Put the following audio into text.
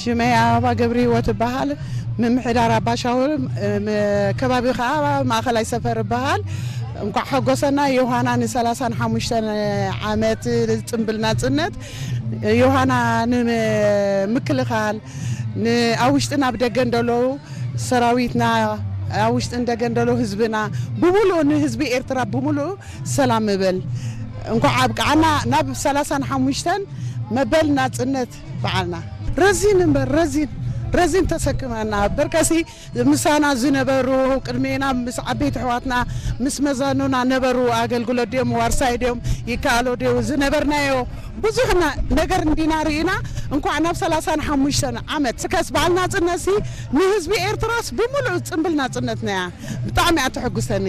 ሽመይ ኣበባ ገብረ ህይወት እበሃል። ምምሕዳር ኣባሻውል፣ ም-፣ ከባቢ ኸዓ ማእኸላይ ሰፈር እበሃል። እንኳዕ ሓጎሰና ዮሃና ን35 ዓመት ጽንብል ናጽነት። ዮሃና ንምክልኻል፣ ን-፣ ኣብ ውሽጥን ኣብ ደገን ዘለዉ ሰራዊትና፣ ኣብ ውሽጥን ደገን ዘለዉ ህዝብና ብምሉእ፣ ንህዝቢ ኤርትራ ብምሉእ ሰላም እብል። እንኳዕ ኣብቅዓና ናብ 35 መበል ናጽነት በዓልና። ረዚን እምበር ረዚን፣ ረዚን ተሰክመና። በርከሲ ምሳና ዝነበሩ፣ ቅድሜና ምስ ዓበይቲ ኣሕዋትና ምስ መዛኑና ነበሩ። ኣገልግሎት ድዮም፣ ዋርሳይ ድዮም፣ ይከኣሎ ድዩ፣ ዝነበርናዮ ብዙሕ ነ-፣ ነገር እንዲና ርኢና። እንኳዕ ናብ 35 ዓመት ስከስ በዓል ናጽነትሲ ንህዝቢ ኤርትራስ ብምሉእ ጽንብል ናጽነትናያ። ብጣዕሚ እያ ተሐጉሰኒ።